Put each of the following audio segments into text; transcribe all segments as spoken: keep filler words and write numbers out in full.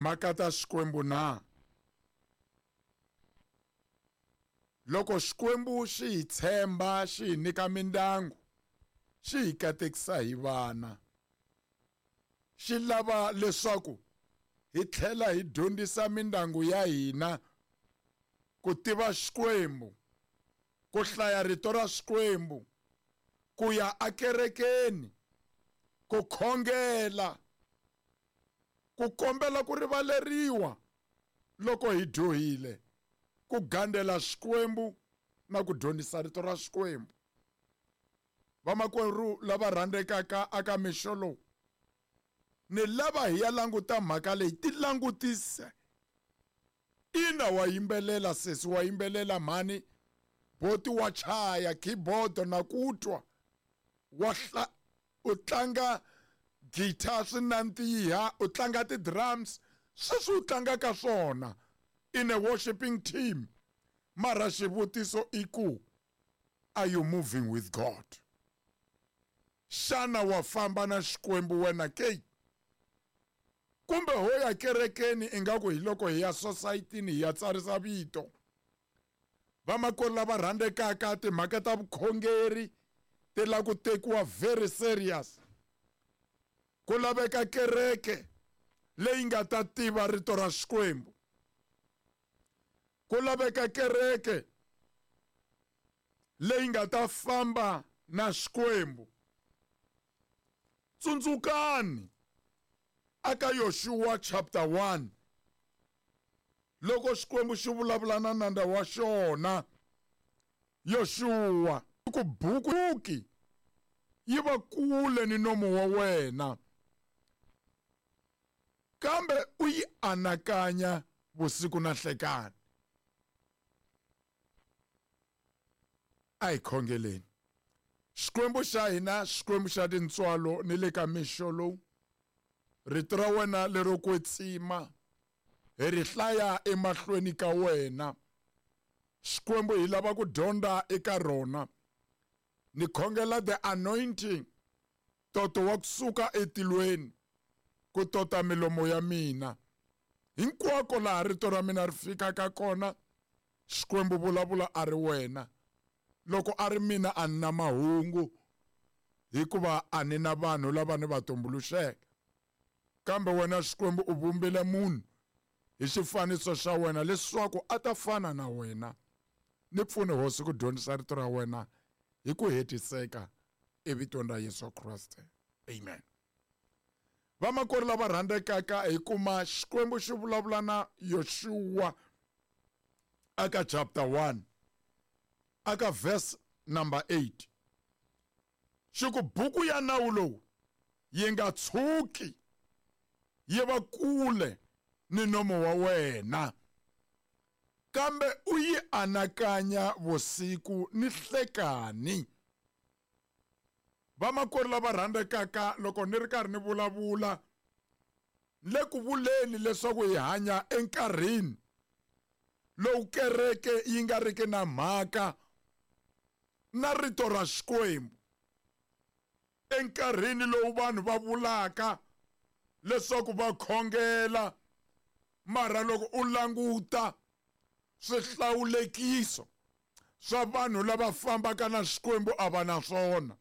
Mhaka ta Xikwembu na? Loko Xikwembu xi hi tshemba, xi hi nyika mindyangu, xi hi katekisa hi vana. Xi lava leswaku hi tlhela hi dyondzisa mindyangu ya hina ku tiva Xikwembu, ku hlaya rito ra Xikwembu, ku ya ekerekeni, ku khongela, ku kombela ku rivaleriwa loko hi dyohile, ku gandzela Xikwembu na ku dyondzisa rito ra Xikwembu. Vamakwerhu lava rhandzekaka aka mixo lowu, ni lava hi ya languta mhaka leyi, ti langutise. Ina wa yimbelela sesi, wa yimbelela mhani, boti wa chaya keyboard na ku twa, wa hla, u tlanga guitar swi nandziha, u tlanga ti-drums, sweswi u tlangaka swona in a worshiping team. Mara xivutiso i ku, are you moving with God? Xana wa famba na Xikwembu wena ke? Kumbe ho ya kerekeni ingaku hi loko hi ya society-ni hi ya tsarisa vito? Vamakwerhu lava rhandzekaka, timhaka ta vukhongeri ti lava ku tekiwa very serious. Ku laveka kereke leyi nga ta tiva rito ra Xikwembu. Ku laveka kereke leyi nga ta famba na Xikwembu. Tsundzukani aka Yoshua chapter one, loko Xikwembu xi vulavula na nandza wa xona Yoshua, ku buku yi va kule ni nomu wa wena, kambe u yi anakanya vusiku na nhlekani. A hi khongeleni. Xikwembu xa hina, Xikwembu xa tintswalo, ni le ka mixo lowu, rito ra wena lero kwetsima hi ri hlaya emahlweni ka wena. Xikwembu, hi lava ku dyondza eka rona. Ni khongela the anointing, toto wa kusuka etilweni ku tota milomo ya mina. Hinkwako laha rito ra mina ri fikaka kona, Xikwembu vulavula a ri wena. Loko a ri mina a ni na mahungu, hikuva a ni na vanhu lava ni va tumbuluxeke. Kambe wena Xikwembu u vumbile munhu hi xifaniso xa wena leswaku a ta fana na wena. Ni pfune Hosi ku dyondzisa rito ra wena hi ku hetiseka, evitweni ra Yesu Kriste. Amen. Vamakwerhu lava rhandzekaka, hi kuma Xikwembu xi vulavula na Yoshua aka chapter one, aka verse number eight. Xi ku buku ya nawu lowu yi nga tshuki yi va kule ni nomo wa wena, kambe u yi anakanya vusiku ni nhlekani. Vamakwerhu lava rhandzekaka, loko ni ri karhi ni vulavula, le ku vuleni leswaku hi hanya enkarhini lowu kereke yi nga riki na mhaka na rito ra Xikwembu, enkarhini lowu vanhu va vulaka leswaku va khongela, mara loko u languta swihlawulekiso swa vanhu lava fambaka na Xikwembu a va na swona.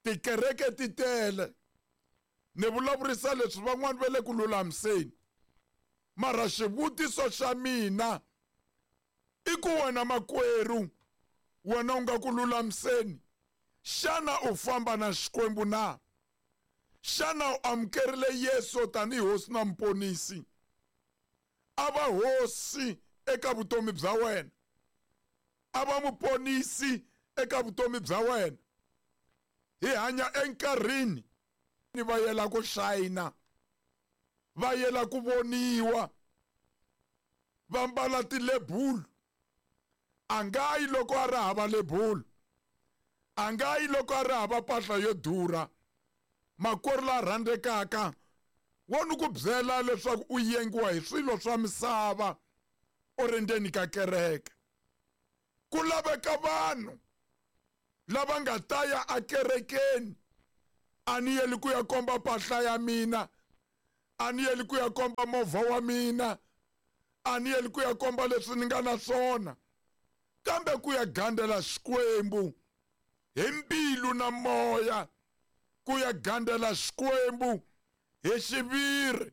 Tikereke ti tele. Ni vulavurisa leswi van'wani va le ku lulamiseni, mara xivutiso xa mina i ku wena makwerhu, wena u nga ku lulamiseni, xana u famba na Xikwembu na? Xana u amukerile Yesu tanihi Hosi na Muponisi? A va Hosi eka vutomi bya wena, a va Muponisi eka vutomi bya wena. Hi hanya enkarhini ni va yela ku shayina, va yela ku voniwa, va mbala tilebulu. A nga yi loko a ri hava lebulu, a nga yi loko a ri hava mpahla yo durha. Makwerhu la rhandzekaka, wo ni ku byela leswaku u yengiwa hi swilo swa misava u ri ndzeni ka kereke. Ku laveka vanhu lava nga ta ya ekerekeni. A ni yeli ku ya komba mpahla ya mina, A ni yeli ku ya komba movha wa mina, a ni yeli ku ya komba leswi ni nga na swona, kambe ku ya gandzela Xikwembu hi mbilu na moya, ku ya gandzela Xikwembu hi xiviri.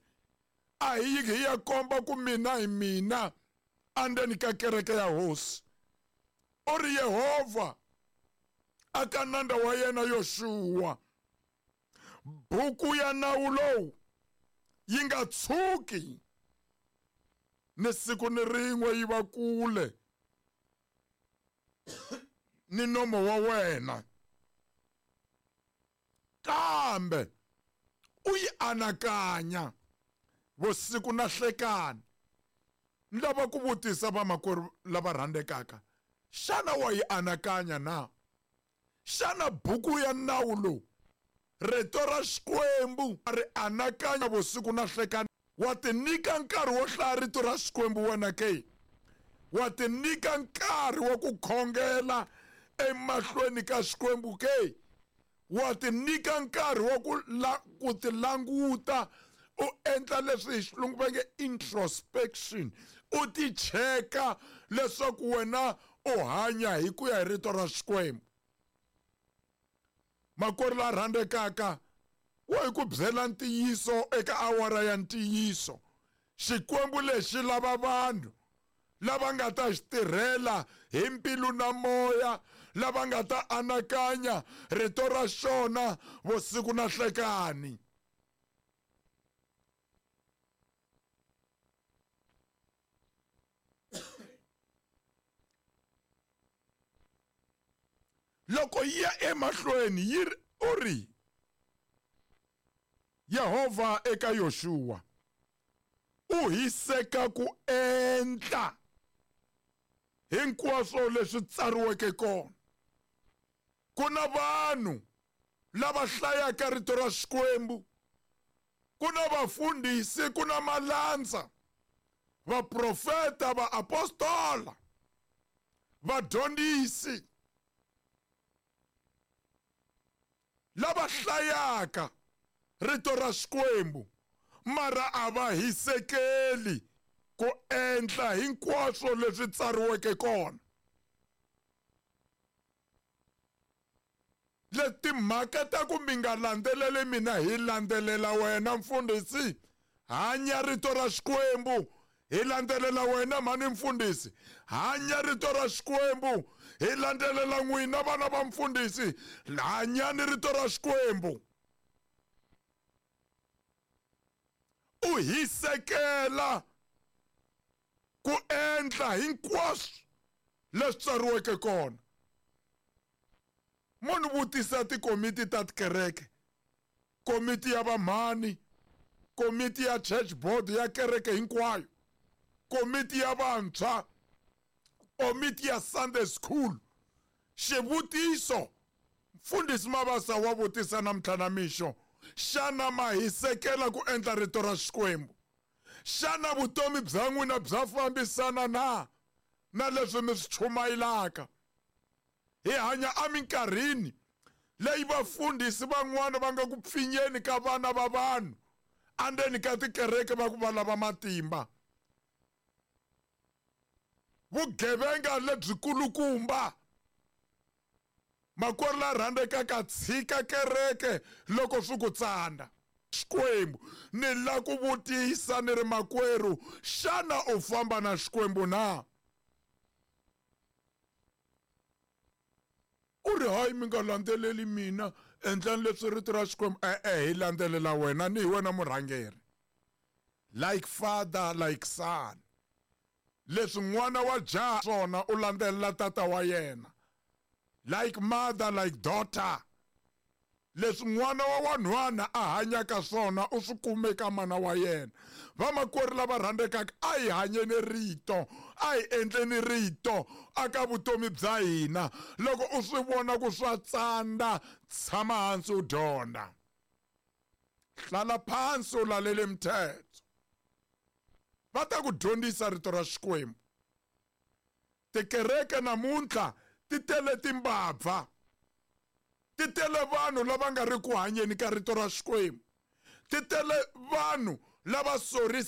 A hi hi ya komba ku mina hi mina andzeni ka kereke ya Hosi. U ri Yehovha aka nandza wa yena Yoxuwa, buku ya nawu lowu yi nga tshuki ni siku ni rin'we yi va kule ni nomo wa wena, kambe u yi anakanya vusiku na hlekani. Ni lava ku vutisa vamakwerhu lava rhandzekaka, xana wa yi anakanya na? Xana buku ya nawu lowu, rito ra Xikwembu, ri anakanya vusiku na hlekani? Wa tinyika nkarhi wo hlaya rito ra Xikwembu wena ke? Wa tinyika nkarhi wa ku khongela emahlweni ka Xikwembu ke? Wa tinyika nkarhi wa ku la, ku tilanguta, u endla leswi hi xilungu va nge introspection, u ti cheka leswaku wena u hanya hi ku ya hi rito ra Xikwembu. Makwerhu la rhandzekaka, wo hi ku byela ntiyiso eka awara ya ntiyiso, Xikwembu lexi lava vanhu lava nga ta xi tirhela hi mbilu na moya, lava nga ta anakanya rito ra xona vusiku na hlekani. Loko yi ya emahlweni yi ri, u ri Yehovha eka Yoxuwa, u hiseka ku endla hinkwaswo leswi tsariweke kona. Ku na vanhu lava hlayaka rito ra Xikwembu, ku na vafundhisi, ku na malandza, vaprofeta, vaapostola, vadyondzisi lava hlayaka rito ra Xikwembu, mara a va hisekeli ku endla hinkwaswo leswi tsariweke kona. Le timhaka ta ku mi nga landzeleli mina, hi landzelela wena mfundhisi, hanya rito ra Xikwembu. Hi landzelela wena mhani mfundhisi, hanya rito ra Xikwembu. Hi landzelela n'wina vana va mfundhisi, hanyani rito ra Xikwembu. U hisekela ku endla hinkwaswo leswi tsariweke kona. Munhu vutisa tikomiti ta tikereke, komiti ya vamhani, komiti ya church board ya kereke hinkwayo, komiti ya vantshwa, komiti ya Sunday school. Xivutiso mfundhisi Mabasa wa vutisa namuntlha na mixo, xana ma hisekela ku endla rito ra Xikwembu? Xana vutomi bya n'wina bya fambisana na na leswi mi swi chumayelaka? Hi hanya eminkarhini leyi vafundhisi van'wana va nga ku pfinyeni ka vana va vanhu andzeni ka tikereke va ku va lava matimba. Vugevenga lebyikulukumba. Makwerhu la rhandzekaka, tshika kereke loko swi ku tsanda. Xikwembu ni la ku vutisa ni ri makwerhu, xana u famba na Xikwembu na? U ri hayi, mi nga landzeleli mina, endlani leswi rito ra Xikwembu. E-e, hi landzelela wena, ni hi wena murhangeri. Like father, like son. Leswi n'wana wa jaha swona u landzelela tata wa yena. Like mother, like daughter. Leswi n'wana wa wanhwana a hanyaka swona u swi kume ka mana wa yena. Vamakwerhu lava rhandzekaka, a hi hanyeni rito, a hi endleni rito aka vutomi bya hina. Loko u swi vona ku swa tsanda, tshama hansi u dyondza. Hlala phansi u lalele mithetho. Va ta ku dyondzisa rito ra Xikwembu. Tikereke namuntlha ti tele timbabva, ti tele vanhu lava nga ri ku hanyeni ka rito ra Xikwembu, ti tele vanhu lava sorisaka.